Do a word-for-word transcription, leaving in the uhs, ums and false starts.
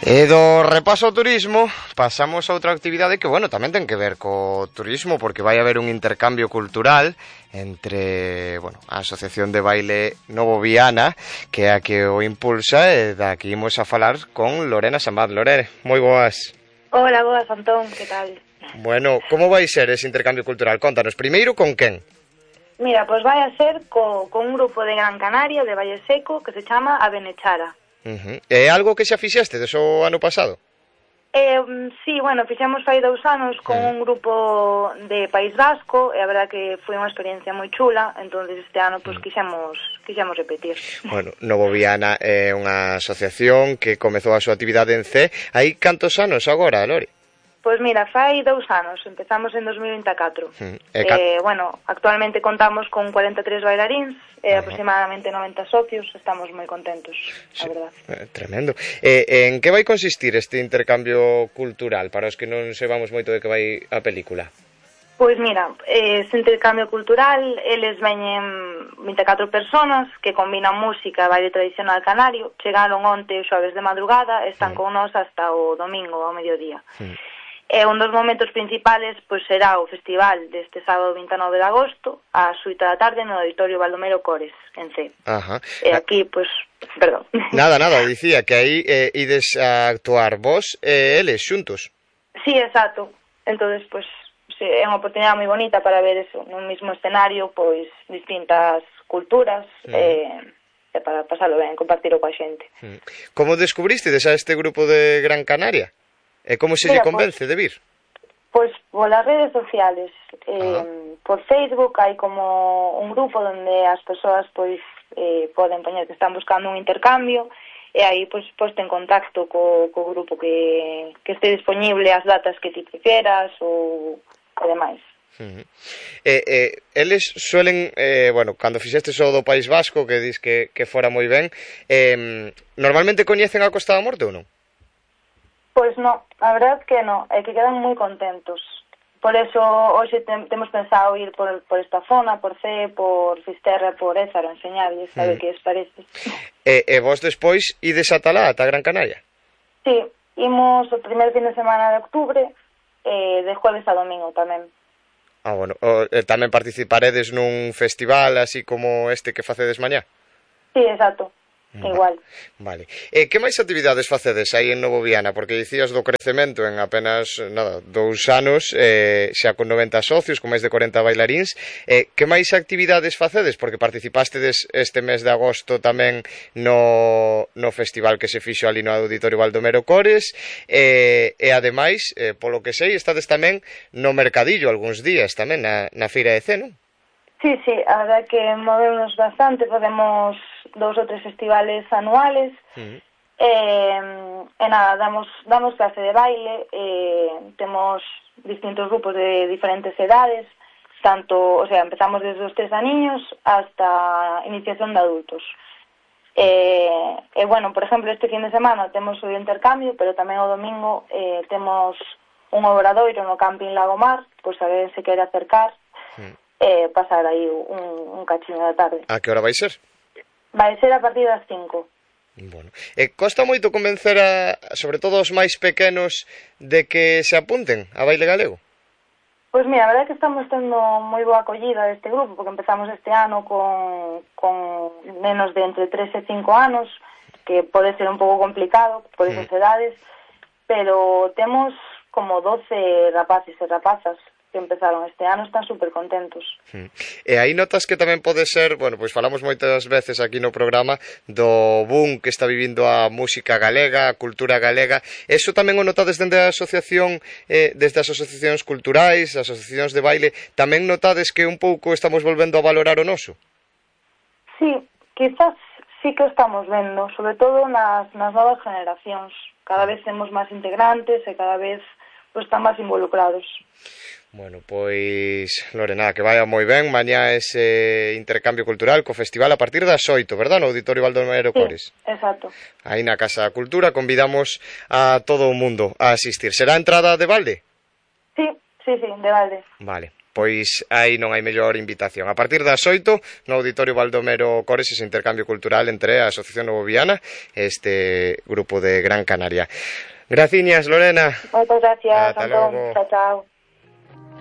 E do repaso ao turismo pasamos a outra actividade que, bueno, tamén ten que ver co turismo, porque vai haber un intercambio cultural entre, bueno, a Asociación de Baile Novo Viana, que é a que o impulsa, e daqui imos a falar con Lorena Samad. Lorena, moi boas. Hola, boas, Antón, que tal? Bueno, como vai ser ese intercambio cultural? Contanos, primeiro, con quen? Mira, pois vai a ser co, con un grupo de Gran Canaria, de Valle Seco, que se chama A Benechara. Uh-huh. É algo que xa fixeste deso ano pasado? Eh, sí, bueno, fixemos fai dous anos con uh-huh. un grupo de País Vasco, e a verdad que foi unha experiencia moi chula, entonces este ano pois quixemos, quixemos repetir. Bueno, Novo Viana é unha asociación que comezou a súa actividade en C. Hai cantos anos agora, Lori? Pois mira, fai dous anos, empezamos en dos mil vinte e catro. Uh-huh. E ca... eh, bueno, actualmente contamos con cuarenta e tres bailaríns, e uh-huh. aproximadamente noventa socios, estamos moi contentos, sí, a verdad. Eh, tremendo. Eh, en que vai consistir este intercambio cultural, para os que non sepamos moito de que vai a película? Pois mira, eh, este intercambio cultural, eles veñen vinte e catro personas que combinan música e baile tradicional canario, chegaron onte o xoves de madrugada, están uh-huh. con nós hasta o domingo ao mediodía. Uh-huh. E un dos momentos principales pois será o festival deste sábado vinte e nove de agosto ás oito da tarde no Auditorio Baldomero Cores, en C. Ajá. E aquí, pois, perdón. Nada, nada, dicía que aí eh, ides a actuar vos e eles xuntos. Sí, exacto. Entonces, pois, sí, é unha oportunidade moi bonita para ver eso, nun mismo escenario, pois, distintas culturas, mm. e, e para pasalo ben, compartilo coa xente. Mm. Como descubristedes a este grupo de Gran Canaria? E como se lle convence de vir? Pois polas redes sociales, eh, por Facebook hai como un grupo onde as persoas pois eh, poden poñer que están buscando un intercambio e aí pois poste en contacto co, co grupo que, que este disponible as datas que ti prefieras ou e demais. Uh-huh. Eh, eh, eles suelen, eh, bueno, cando fixestes o do País Vasco, que dis que, que fora moi ben, eh, normalmente coñecen a Costa da Morte ou non? Pois no, a verdad que no, é que quedan moi contentos. Por eso hoxe tem, temos pensado ir por, por esta zona, por C, por Fisterra, por Ézaro, enseñarles, sabe mm. que es parece. E, e vos despois ides ata lá, ata Gran Canaria? Sí, imos o primer fin de semana de octubre, eh, de jueves a domingo tamén. Ah, bueno, o, eh, tamén participaredes nun festival así como este que facedes mañá? Sí, exacto. Igual. Vale. E que máis actividades facedes aí en Novo Viana? Porque dicías do crecemento en apenas, nada, dous anos, eh, xa con noventa socios, con máis de corenta bailaríns. Eh, que máis actividades facedes? Porque participastedes este mes de agosto tamén no, no festival que se fixo ali no Auditorio Baldomero Cores, e, e ademais, eh, polo que sei, estades tamén no mercadillo algúns días tamén na, na Feira de C, non? Sí, sí, a verdad que movemos bastante, podemos dous ou tres festivales anuales, uh-huh. eh, e nada, damos, damos clase de baile, eh, temos distintos grupos de diferentes edades, tanto, o sea, empezamos desde os tres aniños hasta iniciación de adultos. Eh, e, bueno, por exemplo, este fin de semana temos o intercambio, pero tamén o domingo eh, temos un obradoiro no camping Lagomar, pois a ver se quere acercar, uh-huh. e pasar aí un, un cachino da tarde. A que hora vai ser? Vai ser a partir das cinco. Bueno. E costa moito convencer a, sobre todo os máis pequenos, de que se apunten a baile galego? Pois mira, a verdade é que estamos tendo moi boa acollida deste grupo, porque empezamos este ano con, con menos de entre tres e cinco anos, que pode ser un pouco complicado por esas mm. edades, pero temos como doce rapaces e rapazas que empezaron este ano, están super contentos. Hmm. E aí notas que tamén pode ser, bueno, pois falamos moitas veces aquí no programa do boom que está vivindo a música galega, a cultura galega. Eso tamén o notades dende a asociación, eh, desde as asociacións culturais, as asociacións de baile, tamén notades que un pouco estamos volvendo a valorar o noso? Sí, quizás sí que estamos vendo, sobre todo nas, nas novas generacións. Cada vez temos máis integrantes e cada vez pues, están máis involucrados. Bueno, pois, Lorena, que vaya moi ben mañá ese intercambio cultural co festival a partir das oito, verdad? No Auditorio Baldomero Cores. Sí, exacto. Aí na Casa da Cultura convidamos a todo o mundo a asistir. Será entrada de balde? Sí, sí, sí, de balde. Vale. pois aí non hai mellor invitación. A partir das oito, no Auditorio Baldomero Cores, ese intercambio cultural entre a Asociación Novoviana e este grupo de Gran Canaria. Graciñas, Lorena. Moitas gracias, Ata Antón. logo. Chao, chao.